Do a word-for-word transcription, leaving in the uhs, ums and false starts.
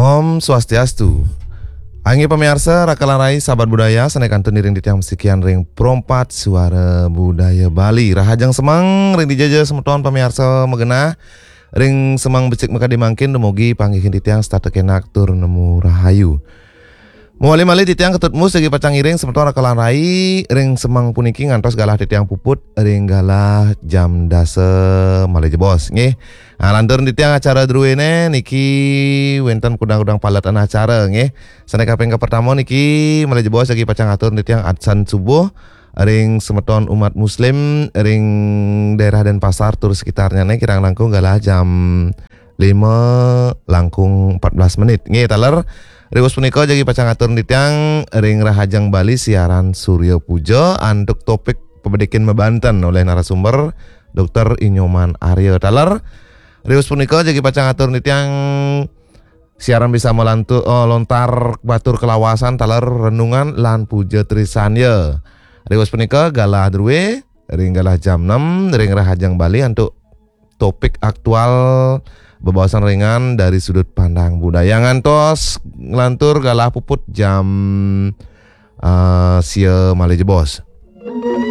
Om Swastiastu. Inggih pamiarsa, raka lan rai, sahabat budaya, sané kantun iring titiang masikian ring Pro empat Suara Budaya Bali. Rahajeng semeng ring dija ja semeton pamiarsa magenah, ring semeng becik makadi mangkin dumugi panggihin titiang setata kenak tur nemu rahayu. Mawali malih titiang Ketut Mus jagi pacang ngiring semeton raka lan rai ring semeng puniki ngantos galah titiang puput ring galah jam dasa malih jebos, nggih. Ah, lantur titiang acara druéné niki wénten kudang-kudang paletan acara, nggih. Sané kaping kapertama niki malih jebos jagi pacang atur titiang adsan subuh ring semeton umat muslim ring daerah Denpasar tur sekitarnyané kirang langkung galah jam lima langkung empat belas menit. Nggih, taler. Riwus punika jagi pacang atur titiang ring Rahajeng Bali siaran Surya Puja antuk topik pabedikin mabanten oleh narasumber Dokter Inyoman Arya. Taler. Riwus punika jagi pacang atur titiang siaran bisa malantu, eh, lontar batur kalawasan taler renungan lan puja trisandya. Riwus punika galah drué ring galah jam enam ring Rahajeng Bali antuk topik aktual bebaosan ringan dari sudut pandang budaya ngantos nglantur galah puput jam, eh, sia malih jebos.